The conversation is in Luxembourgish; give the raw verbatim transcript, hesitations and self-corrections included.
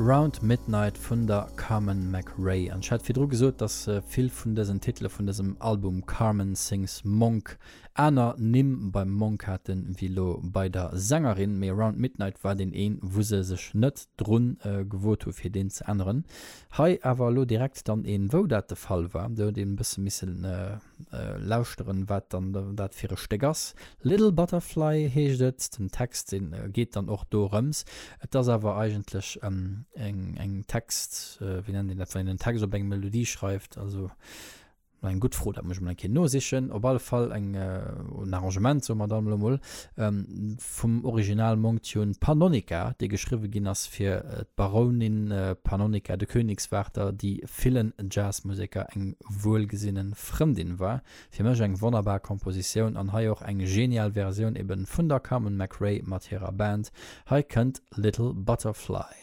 Round Midnight vun der Carmen McRae. An ech hat virdru gesot, dass vill vun dësen Titele vun dësem Album Carmen Sings Monk aner Nimm beim Monk haten, wéi elo bei der Sängerin. Mee Round Midnight war deen een, wou se sech net drun gewot hu fir deen ze änneren. Hei awer elo direkt dann een, wou dat de Fall war. Do huet een e bësse missen lauschteren, wat dann dat fir e Stéck ass. Little Butterfly heescht et. Den Text, dee geet dann och dorëms. Et ass awer eigentlech eng eng Text, wéi nennt een dat, wann een en Text op eng Melodie schreift, also eng gutt Fro, dat muss ech mol eng Kéier nosichen. Op alle Fall eng en Arrangement, soe mer dann elo mol, vum Original Monk-Tune Pannonica, dee geschriwwe ginn ass fir d'Barounin Pannonica de Königswarter, déi villen Jazzmuseker eng wuelgesinne Frëndin war. Fir mech eng wonnerbar Kompositioun an hei och eng genial Versioun eben vun der Carmen McRae mat hirer Band. Hei kënnt Little Butterfly.